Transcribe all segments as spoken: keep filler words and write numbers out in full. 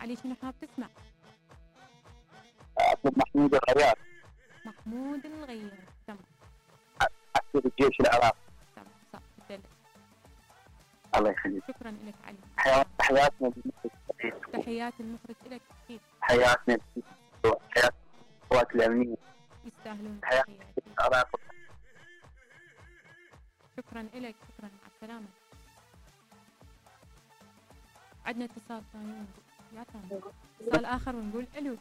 علي شنو حاب تسمع؟ اطلب محمود الغيار. محمود الغيار. تمام. عسكر الجيش العراقي. تمام صح تدلل. الله يخليك. شكرا لك علي. حياتنا تحيات المخرج لك اكيد. حياتنا حياة القوات الامنيه يستاهلون حياتنا العراق. شكرا لك. شكرا مع السلامه. عندنا اتصال ثاني يا ثاني اتصال اخر ونقول الو.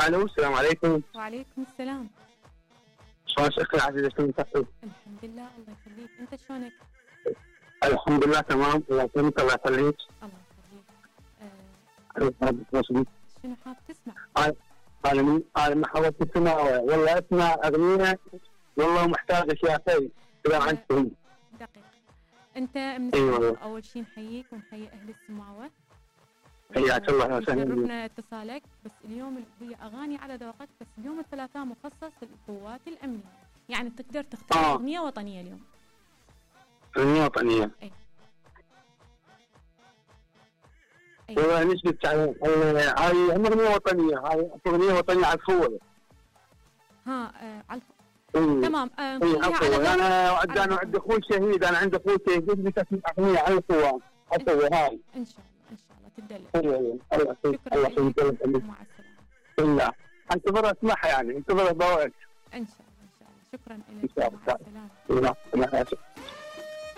الو السلام عليكم. وعليكم السلام. شلونك اختي العزيزه؟ شلونك تحسين؟ الحمد لله الله يخليك. انت شلونك؟ الحمد لله تمام. الله يسلمك. الله يخليك. الله يخليك. آه شنو حاب تسمع؟ انا من انا ما حاولت اسمع والله اسمع اغنيه والله محتاج اشياء خير اذا آه عندكم. دقيقه. انت من أيوة. اول شيء نحييك ونحيي اهل السماوه. حياك الله وسهلا. شرفنا اتصالك. بس اليوم هي اغاني على ذوقك. بس اليوم الثلاثاء مخصص للقوات الامنيه. يعني تقدر تختار آه. اغنيه وطنيه اليوم. اغنيه وطنيه. اي والله نسبة هاي اغنيه وطنيه. هاي اغنيه وطنيه عفوه. ها آه على إيه. تمام. آه إيه على انا انا عندي اخوي شهيد. انا عندي اخوي شهيد بدي اسمع اغنيه عن القوات عفوه هاي. ان شاء الله ان شاء الله تدلل. ايوه الله يخليك. الله يخليك. مع السلامه. بالله انتظر اسمعها يعني انتظر ضوءك. ان شاء الله ان شاء الله. شكرا لك. ان شاء الله. مع السلامه. الله